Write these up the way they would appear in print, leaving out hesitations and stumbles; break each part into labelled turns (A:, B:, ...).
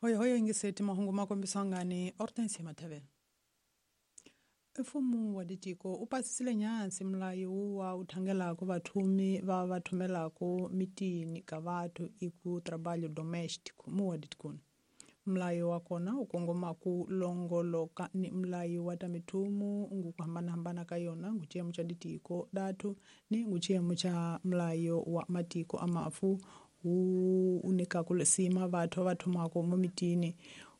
A: Hoyohoyo yingiseti mahungu ma kombisiwa ngani Hortensia Mathavela. Mfumo wa ditiko u pasisile nyansi mulayo wuwa wu thangelaka vathumi va va thumelaka mitini ka vathu i ku trabalho doméstico mu wa ditikoni. Mulayo wa kona wu kongoma ku longoloka ni mulayo wa ta mithumu ngu ku hambanahambana ka yona ngu xiyimo xa ditiko dathu ni ngu xiyimo xa mulayo wa matiko a mafu wu nyikaka lisima vathu va thumaka mo mitini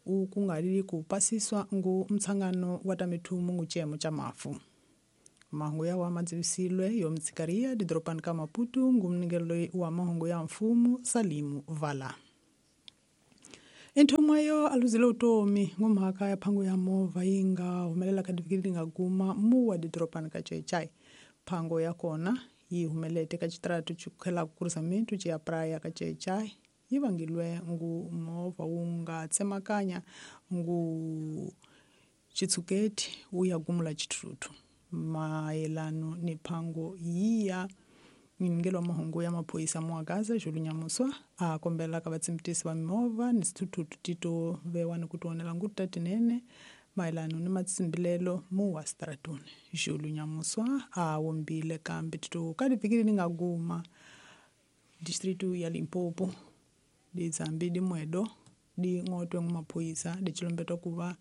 A: u ku nga ri ku pasiswa ngu ntshangano wa ta mithumu ngu xiyimo xa mafu. Mahungu yawa ma dzivisilwe yo mtshikaria didorobani ka Maputo ngu mningelo wa mahungu ya mfumo Salimu Vala. Inthomo yo aluzile utomi ngomhaka ya phango ya movha yi nga humelela ka divhiki leri nga guma mu wa didorobani ka Chechai. Phango ya kona yi humelete ka xitaratu xi khelaka cruzamento ya praia ka Chechai yi vangilwe ngu movha wu nga tsemakanya ngu xitshuketi wu ya gumula xithuthuthu. Mayelano ni phango yiya mningelo wa mahungu ya maphorisa Muagaza Julu Nyamuswa a kombela ka vatsimbitisi va mimovha ni swithuthuthu tito vewa ni ku tionela ngutu ta tinene mayelano ni matsimbilelo mu wa stratoni. Julu Nyamuswa a wombile kambe tito ka divhiki leri nga guma distritu ya Limpopo dizambi dimwedo di ng'otwe ngu maphorisa di chilombetwa ku va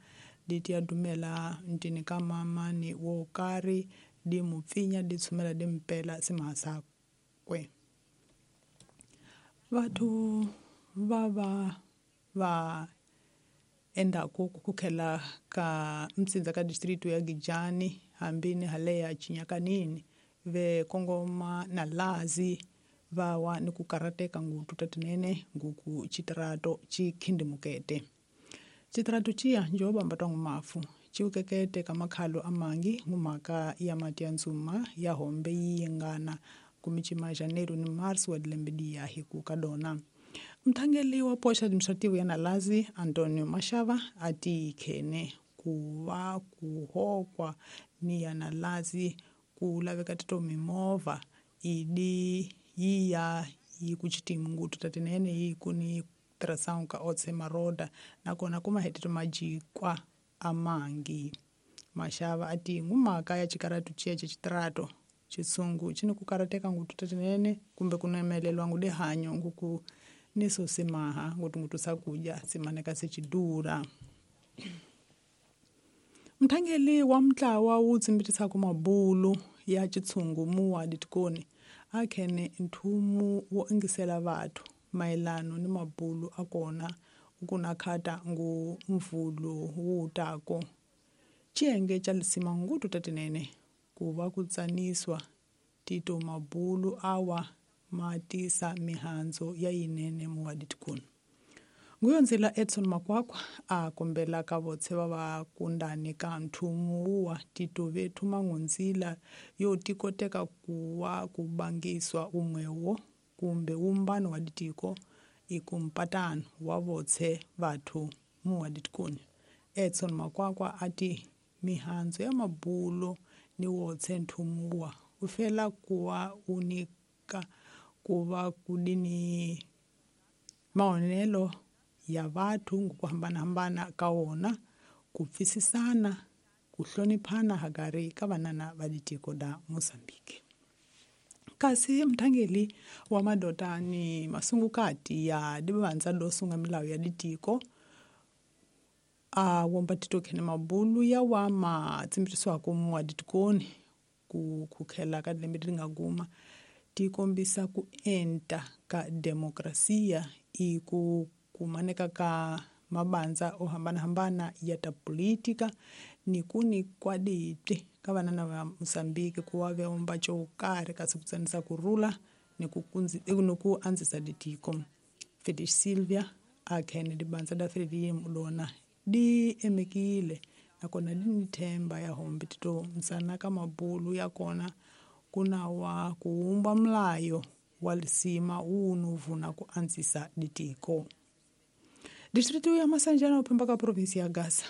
A: di ti ya dumela ntini ka mamani wo karhi di mu pfinya di tshumela di mpela simahasakwe. Vathu va va va endaku ku khela ka mtsindza ka distritu ya Gijani hambi ni haleya Chinyakanini ve kongoma na lazi va wa ni ku karateka ngutu ta tinene nguku xitirato xi khindimukete. Xitirato xiya njo bamba twa mafu xiwukekete ka makhalo amangi ngumhaka ya mati ya ndzuma ya hombe yi yingana kumicima Janeiro ni Marsi wa dilembe diya hi ku ka dona. Mthangeli wa poxa administrative ya Nalazi Antonio Mashava a ti khene ku va ku hokwa ni ya Nalazi ku laveka tito mimovha idi yi ya yi ku xitimu ngutu ta tinene yi ku ni tirhisang ka otse maroda nakona ku mahetelo majikwa amangi. Mashava a ti ngumhaka ya xikaratu xiya xa xitirato xitshungu xi ni ku karateka ngutu ta tinene kumbe ku nemelelwa ngu dihanyo nguku ni so simaha ngutu swakudya simaneka se xidura. Mthangeli wa mntlawa wu tsimbitisaka mabulu ya xitshungu mu wa ditikoni a khene nthumu wo ingisela vathu mayelano ni mabulu a kona ku na khata ngu mvulu wu tako. Xiyenge xa lisima ngutu ta tinene ku va ku tsaniswa tito mabulu awa ma tisa mihandzu ya yinene mu wa ditikoni. Nguyonzila Edson Makwakwa a kombela ka votse va va kundani ka nthumu wuwa tito vethu mangunzila yo tikoteka ku wa ku bangiswa umwewo kumbe wumbano wa ditiko i ku mpatano wa votse vathu mu wa ditikoni. Edson Makwakwa a ti mihandzu ya mabulo ni wotse nthumu wuwa wu fela ku wa wu nyika ku va ku dini maonelo ya vathu ku hambanahambana ka wona ku pfisisana ku hloniphana hagari ka vanana va ditiko da Mozambique. Kasi mthangeli wa madota ni masungukati ya dibandza do sunga milawu ya ditiko a womba tito khene mabulu ya wa ma tsimbirisiwaka mu wa ditikoni ku khela ka lembe leri nga guma ti kombisa ku enta ka demokrasiya i ku kumaneka ka mabandza o hambanahambana ya ta politika ni ku ni kwaditi ka vanana va Mozambique ku wa veomba xo karhi kasi ku tsanisa ku rhula ni ku ni ku andzisa ditiko. Fetish Silvia a khene dibandza da Frelimo lona di emekile nakona di ni themba ya hombe tito msana ka mabulu ya kona ku na wa ku wumba mulayo wa lisima wu nu vuna ku andzisa ditiko. Distritu ya Masanjana uphemba ka provinsi ya Gaza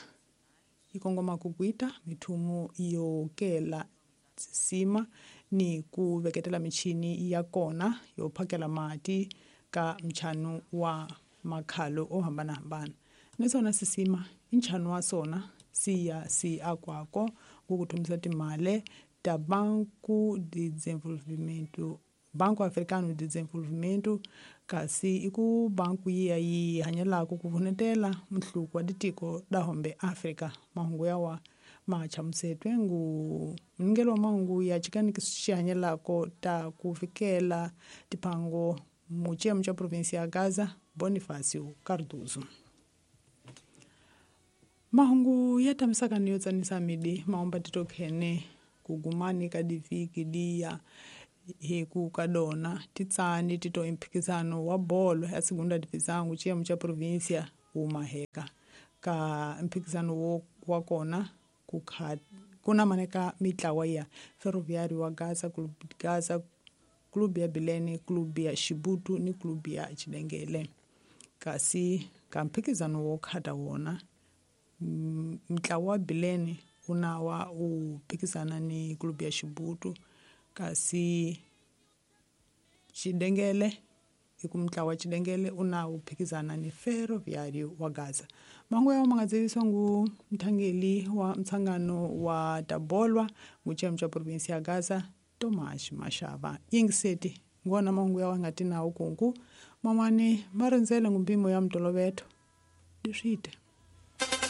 A: yi kongoma ku kuita mithumu yo kela sima ni ku veketela michini ya kona yo phakela mati ka mchanu wa makhalo o hambanahambana. Ni sona sisima i nchanu wa sona siya si akwako ku kuthomisa timale ta Banco de Desenvolvimento, Banco Africano de Desenvolvimento, kasi i ku banku yiya yi hanyelaka ku vunetela mihluko wa titiko da hombe Afrika. Mahungu yawa ma chamusetwe ngu mningelo wa mahungu ya chikaniki xihanyelako ta ku fikela tipango muchemu cha provinsia ya Gaza, Bonifacio Cardoso. Mahungu ya tamisaka ni yo tsanisa midi maomba titokhene kugumani ka divhiki diya hi ku ka dona titsani tito mphikizano wa bolo ya segunda divisão xiyimo xa provinsia wu maheka ka mphikizano wo wa kona ku kha ku na maneka mitlawa ya Ferroviário wa Gaza, Clube Gaza, Clube ya Bilene, Clube ya Xibutu ni Clube ya Xidengele. Kasi ka mphikizano wo khata wona ntlawa wa Bilene wu na wa wu phikizana ni Clube ya Xibutu, kasi Xidengele i ku mutlawa wa Xidengele u na wu phikizana ni Ferroviário wa Gaza. Mahungu yawo ma nga dzivisiwa ngu mthangeli wa mtshangano wa tabolwa ngu xa provinsi ya Gaza, Thomas Mashava. Yingiseti ngona mahungu yawo nga ti nawu kunku man'wani ma rindzele ngu mpimo ya mutoloveto leswite.